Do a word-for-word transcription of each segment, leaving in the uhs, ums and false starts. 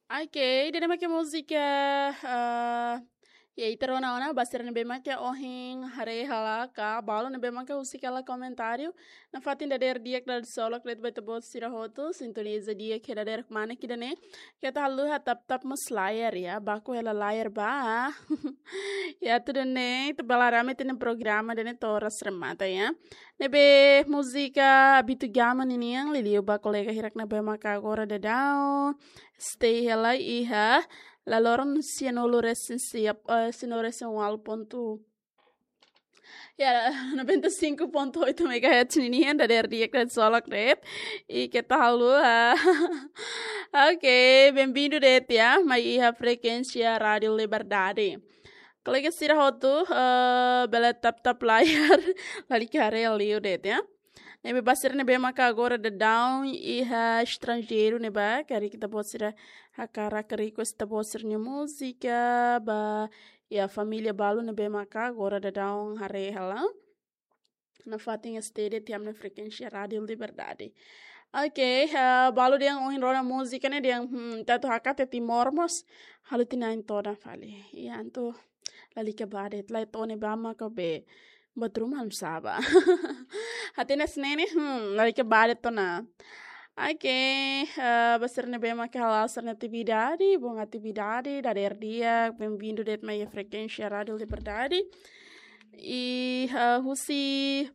Ok, ida-ne'e mak múzika, ah, ya, ita rona ona ba sira ne'ebé mak ohin haree hela ka balu ne'ebé mak husik hela komentáriu. Nafatin dadeer di'ak dala solok de'it ba ita-boot sira hotu, sintoniza di'ak iha dadeer-mana ida-ne'e. Keta haluha tap-tap mós layar ya, baku hela layar ba. Ya, tudo bem, ita bele haree ami-nia programa ida-ne'e to'o oras remata ya. Ne'ebé múzika Abito Gama ninian, liuliu ba kolega hirak ne'ebé mak agora daudaun stay hela iha laloran sianulu resin siap, eh, sianulu resin ualu pontu, ya, noventa e cinco ponto oito megahertz ninian, dadeer di'ak dala solok de'it. I keta haluha. Ok, bem-vindo de'it ya, mai iha frekuénsia Rádio Liberdade. Kolega sira hotu, eh, bele tap-tap layar, lalika haree liu de'it ya. Ne'ebé ba sira ne'ebé maka agora daudaun iha estranjeiru ne'ebá, karik ita-boot sira hakarak request ita-boot sira-nia múzika, ba iha família balu ne'ebé maka agora daudaun haree hela. Nafatin stay de'it iha ami-nia frekuénsia Rádio Liberdade. Ok, eh, balu dehan ohin rona múzika ne'e dehan, hmm, ita atu hakat iha Timor mós, halo tiha ona todan fali. Ya, entaun lalika bá de'it, la to'o ne'ebá maka be buat ruma almosa bá. Hatene hanesan ne'e, hmm, lalika bá de'it ona. Ok, eh, ba sira ne'ebé maka hala'o sira-nia atividade, bom atividade, dadeer di'ak, bem-vindo de'it mai iha frekuénsia Rádio Liberdade. I, eh, husi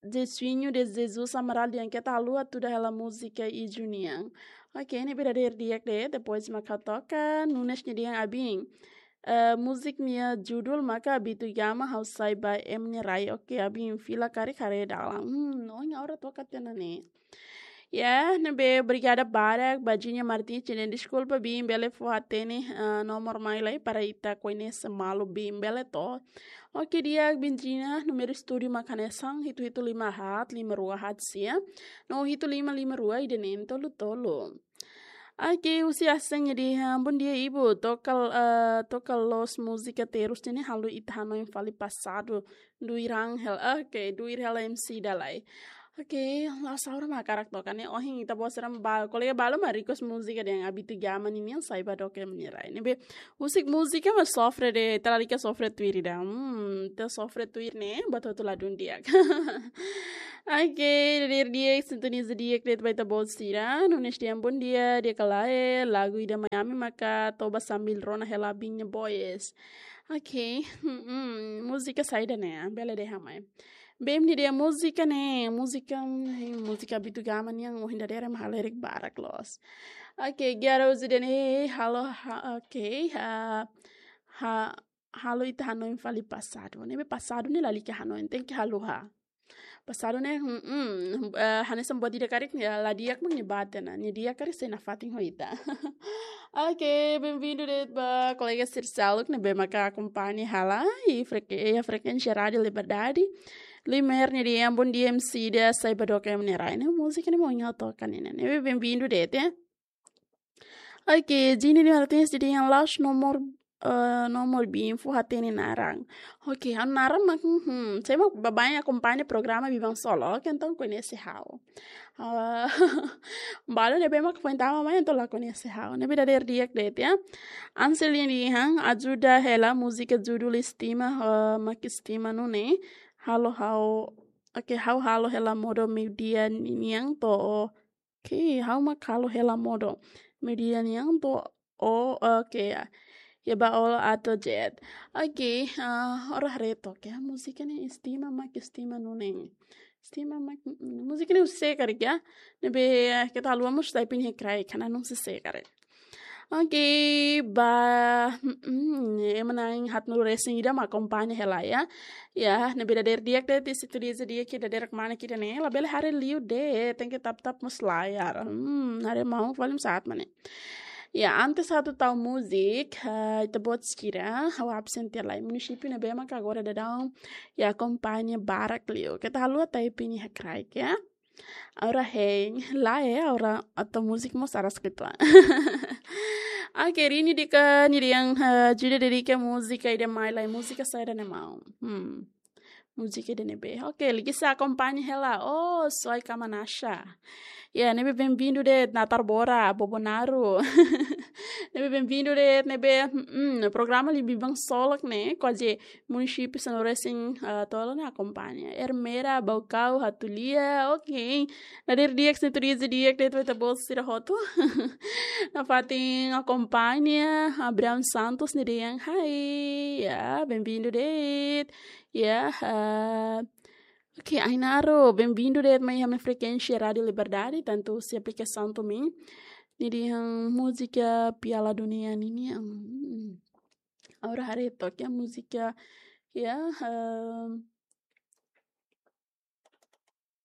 Jesuinho de Jesus Amaral dehan keta haluha tuda hela múzika Iju nian. Ok, ne'ebé dadeer di'ak de'it, depois mak ha'u toka, Nunes nia dehan abin. Eh, múzika nia judul maka Abito Gama, ha'u sai ba ema nia rai. Ok, abin fila karik haree dalan. Hmm, ohin ha'u la toka tiha ona ne'e. Ya, ne'ebé obrigada barak, ba Virginia Martins, nia dehan deskulpa bin, bele fó hatene, eh, nomor mai lai para ita koñese malu bin, bele to. Ok, di'ak bin Gina, númeru estúdiu mak hanesan, hitu hitu lima haat, lima rua haat sia. No hitu lima lima rua, ida neen tolu tolu. Ok, husi Asen nia dehan, bom dia, Ibu. Toka, eh, toka loos múzika terus ne'e, halo ita hanoin fali pasadu. Duir Angel. Ok, duir hela M C ida lai. Ok, la saura mak hakarak toka ne'e. Ohin ita-boot sira ba, kolega balu mak request múzika dehan Abito Gama ninian, sai ba doke ema nia rai. Ne'ebé husik múzika mak sofre de'it, ita lalika sofre tuir ida. Hmm, ita sofre tuir ne'e, buat hotu ladún di'ak. Ok, dadeer di'ak, sintoniza di'ak de'it ba ita-boot sira. Nunes dehan bom dia, di'ak ka lae, lagu ida mai ami maka toba sambil rona hela abin nia boys. Ok, hmm, múzika saida ne'e, bele dehan mai. Bem, nia dehan múzika ne'e, múzika, hmm, múzika Abito Gama nian, ohin dadeer ema halerik barak loos. Ok, Giara Uzi dehan, halo, ha, ok, ha, ha, halo ita hanoin fali pasadu. Ne'ebé pasadu ne'e lalika hanoin, tenke haluha. Pasadu ne'e, hmm, hmm, eh, hanesan buat ida karik, ya, la di'ak mak nia bá tiha ona, nia di'ak karik sei nafatin ho ita. Ok, bem-vindo de'it ba kolega sira seluk ne'ebé maka akompaña hela iha frek-, iha frekuénsia Rádio Liberdade. Limer nia dehan bom dia M C ida, sai ba doke ema nia rai. Ne'e múzika ne'ebé ohin ha'u toka ne'e, ne'ebé bem-vindo de'it ya. Ok, Gina de Martins dehan la'ós nomor, eh, nomor bin, fó hatene naran. Ok, ha'u naran mak, hmm, se mak baibain akompaña programa biban solo, ok, entaun koñese ha'u. Ah, balu ne'ebé mak foin tama mai, entaun la koñese ha'u. Ne'ebé dadeer di'ak de'it ya. Ansel nia dehan, ajuda hela múzika judul Estima, eh, mak estima nune'e. Halo ha'u, ok, ha'u halo hela modo meiudia ninian to'o. Ok, ha'u mak halo hela modo meiudia nian to'o, ok, ya. Ya ba olo ato jet. Ok, ah, ora reto, ok. Múzika ne'e estima mak estima nune'e. Estima mak, mm, múzika ne'e husi sé karik ya. Ne'ebé, eh, keta haluha mós type nia kraik, karena não sei sé karik. Ok, ba, mm, mm, ema na'in haatnulu resin ida mak akompaña hela ya. Ya, ne'ebé dadeer di'ak de'it, sintoniza di'ak iha dadeer-mana ida-ne'e, labele haree liu de'it, tenke tap-tap mós layar. Hmm, haree maun fali mós saat mane. Ya, antes atu tau múzika, eh, ita-boot sira, ha'u absen tiha lai. Munisípiu ne'ebé maka agora daudaun, ya, akompaña barak liu. Keta haluha type nia kraik ya. Agora hein, lae, agora atu múzika mós aras ketua. Ok, Rini dehan, Rini dehan, eh, ajuda dedika múzika ida mai lai, múzika saida ne'e maun. Hmm. Múzika ida ne'ebé. Ok, liga sa akompaña hela. Oh, Soy Kamanasha. Ya, ne'ebé bem-vindo de'it Natar Bora, Bobonaro. Ne'ebé bem-vindo de'it, ne'ebé, mm, programa Libiban Solok ne'e, kuaze munisípiu sira resin, ah, tolo ne'e akompaña. Ermera, Baucau, Hatulia, ok. Dadeer di'ak, sintonia di'ak de'it ba ita-boot sira hotu. Nafatin akompaña, Abraham Santos nia dehan, hai, ya, bem-vindo de'it. Ya, ah, ok, Ainaro, bem-vindo de'it mai ami-nia frekuénsia Rádio Liberdade, tantu husi aplikasaun to'o mai. Nia dehan múzika Piala Dunia ninian. Hmm. Agora haree to'ok iha múzika, ya, ehm,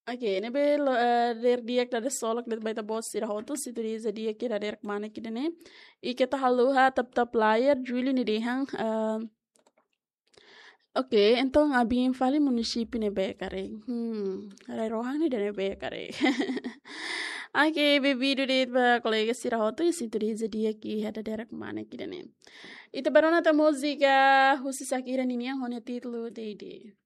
ok, ne'ebé lo-, eh, dadeer di'ak, dadeer solok de'it ba ita-boot sira hotu, sintonia di'ak iha dadeer kmanek ida-ne'e. I keta haluha tap-tap layar, Júlio nia dehan, ehm, ok, entaun abin fali munisípiu ne'ebé karik. Hmm, rai-rohan ida-ne'ebé karik. Ok, bem-vindo de'it ba kolega sira hotu, i sintonia di'ak iha dadeer kmanek ida-ne'e. Ita bá rona tan múzika husi Shakira ninian ho nia títulu Deide.